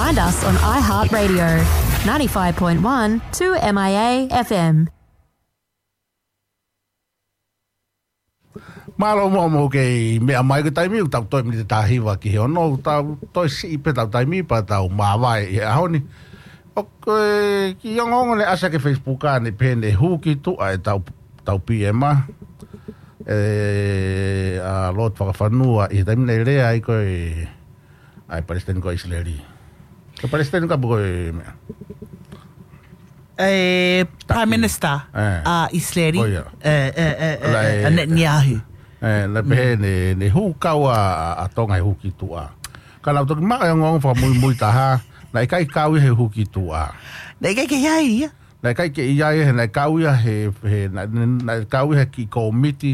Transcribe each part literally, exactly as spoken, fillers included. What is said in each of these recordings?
And us on iHeartRadio, ninety-five point one two M I A F M. Mālō muʻa hoʻomou kei meʻa mai. Ko e taimi ʻoku tau toe miniti ʻe taha hiva ki he ono, tau toe siʻi pē ʻetau taimi pea tau māvae ʻi he ʻaho ni. ʻOku, ē, kiʻi ongoongo naʻe ʻasi ki he Facebook ʻanai pehē naʻe hū ki tuʻa ʻetau, ʻetau P M, ē, ʻa Lord Fakafanua, ʻi he taimi naʻe lea ai ko ē ʻa e Palesiteni ko ʻIsileli. Ko e Palesiteni ka ko e meʻa. E, Prime Minister ʻa ʻIsileli, ʻa Netanyahu. Ē, naʻe pehē naʻe, naʻe hū kau ʻa, ʻa Tonga he hū ki tuʻa. Ka naʻa ku toki maʻu e ongoongo fakamuimui taha, naʻe ʻikai kau ia he hū ki tuʻa. Naʻe ʻikai ke ʻi ai ia. Naʻe ʻikai ke ʻi ai ia, naʻe kau ia he, he, naʻe, naʻe kau ia he kiʻi kōmiti,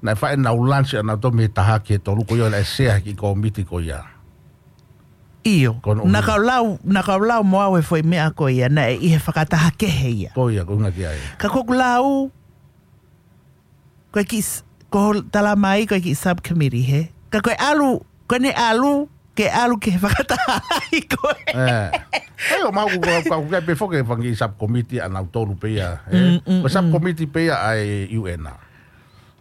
naʻe fai ʻenau lunch ʻanautolu mei he taha ki he tolu ko ia, naʻe sea he kiʻi kōmiti ko ia. ʻIo, naʻa ku lau, naʻa ku lau mo au e foʻi meʻa ko ia, naʻe ʻi he fakataha kehe ia. Ko ia, ko e ʻuhinga ki ai. Ka ko ʻeku lau, ko e kiʻi s-, ko e tala mai, ko e kiʻi subcommittee he. Ka ko e ʻalu, ko ʻene ʻalu, ke ʻalu ki he fakataha lahi ko ē. ʻAi, ʻo mahalo ko, ko, ko e pē foki e fanga subcommittee ʻanautolu pē ia, ē. Ko e subcommittee pē ia ʻa e U N.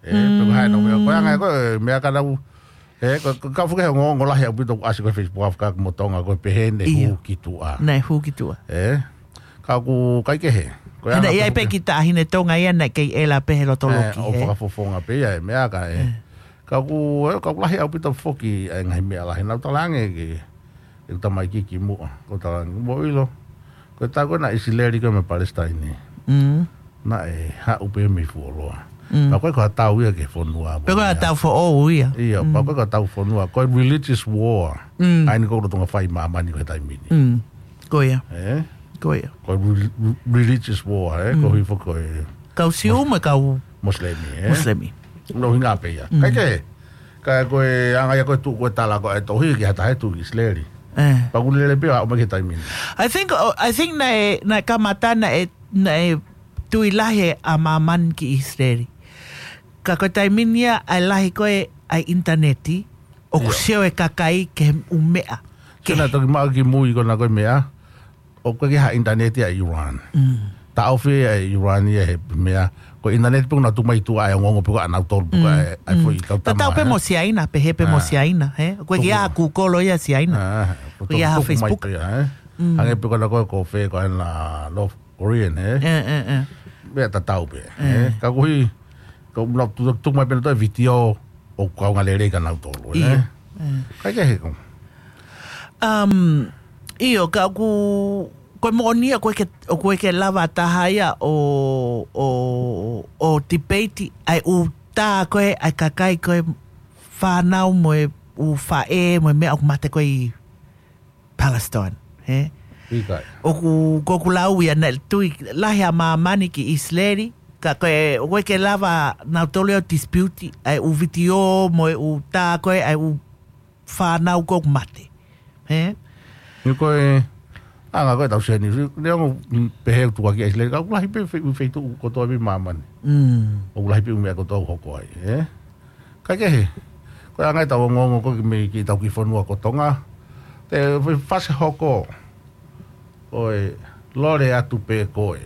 Ē, pe ko e hā ʻenau meʻa, ko e anga ko e meʻa ka nau, ē, ko, ko, ka fuke he ongoongo lahi ʻaupito ʻoku ʻasi ko ē Facebook ʻa Fakamotonga ko e pehē naʻe hū ki tuʻa. Naʻe hū ki tuʻa. Ē, ka ʻoku ʻikai ke he. Ko e anga ʻi ai pē kiʻi taʻahine Tonga ia naʻe kei ʻela pē he loto loki, ʻo fakafofonga pē ia e meʻa ka ē. Ka ʻoku, ē, ka ʻoku lahi ʻaupito foki e ngaahi meʻa lahi. Naʻa ku talaange ki, ki he tamaiki kimuʻa. Ko e talaange, mou ʻilo. Ko e taʻu ko ē naʻe ʻIsileli ko ē mo Palesitaine. Naʻe haʻu pē mei fuoloa. Pea ko e ko ha tau ia ki he fonua. Pea ko e ha tau foʻou ia. ʻIo, pea ko e ko ha tau fonua. Ko e religious war. ʻA eni ko e lolotonga fai ʻi māmani ko e taimi ni. Ko ia. Ē? Ko ia. Ko e re-, re-, religious war, ē? Ko hifo ko e kau Siu mo e kau Mosilemi, ē? Mosilemi. Naʻe ʻuhinga pē ia. ʻIkai ke, ka ko e anga ia ko e tuʻu ko e tala ko e tohi ki ha taha ʻe tuʻu ki ʻIsileli. Pea ʻoku lele pē ʻo aʻu mai ki he taimi ni. I think, oh, I think naʻe, naʻe kamata naʻe, naʻe tui lahi ʻa māmani ki ʻIsileli. Ka ko e taimi ni ia ʻa e lahi ko ē ʻa e ʻinitaneti, ʻoku sio e kakai ki he ʻū meʻa. Ke naʻe toki maʻu kimui ko ena ko e meʻa, ʻoku ʻikai ke ha ʻinitaneti ʻa ʻIulan. Taʻofi ʻe ʻIulan ia he meʻa. Ko e ʻinitaneti pē ʻoku nau tuku mai tuʻa e ongoongo pē ko ē ʻanautolu pē ko ē ʻa e foʻi kau tama. Tatau pē mo Siaina, pehē pē mo Siaina, he? ʻOku ʻikai ke ʻi ai ha Google ia Siaina. ʻOku ʻikai ke ʻi ai ha Facebook. Hangē pē ko ena ko e ko fē ko ena North Korean, he? Meʻa tatau pē, he? Ka ʻoku ʻi ai, ka ʻoku nau tuku mai pē ʻenautolu e vitiō ʻoku kaunga lelei kia nautolu, he? ʻIkai ke he ko. Um, ʻio, ka ʻoku, ko e moʻoni ia, ʻoku ʻikai ke, ʻoku ʻikai ke lava taha ia ʻo, ʻo, ʻo tipeiti ʻa e ʻū tā ko ē ʻa e kakai ko ē fānau mo e ʻū faʻē mo e meʻa ʻoku mate ko ē ʻi Palestine, he? ʻIkai. ʻOku, ko ʻeku lau ia naʻe tui lahi ʻa māmani ki ʻIsileli, ka ko e, ʻoku ʻikai ke lava nautolu ʻo dispute ʻa e ʻū vitiō mo e ʻū tā ko ē ʻa e ʻū fānau ko ē ʻoku mate. He? ʻIo ko e, anga ko e tau seni, neongo pehē ʻoku tukuakiʻi ʻa ʻIsileli, ka ʻoku lahi pē fe-, feituʻu kotoa pē ʻi māmani. ʻOku lahi pē ʻū meʻa kotoa ʻoku hoko ai, he? ʻIkai ke he. Ko e anga ʻetau ongoongo ko ē mei ki heʻetau kiʻi fonua ko Tonga. Te fase hoko. ʻOi, lole atu pē koe.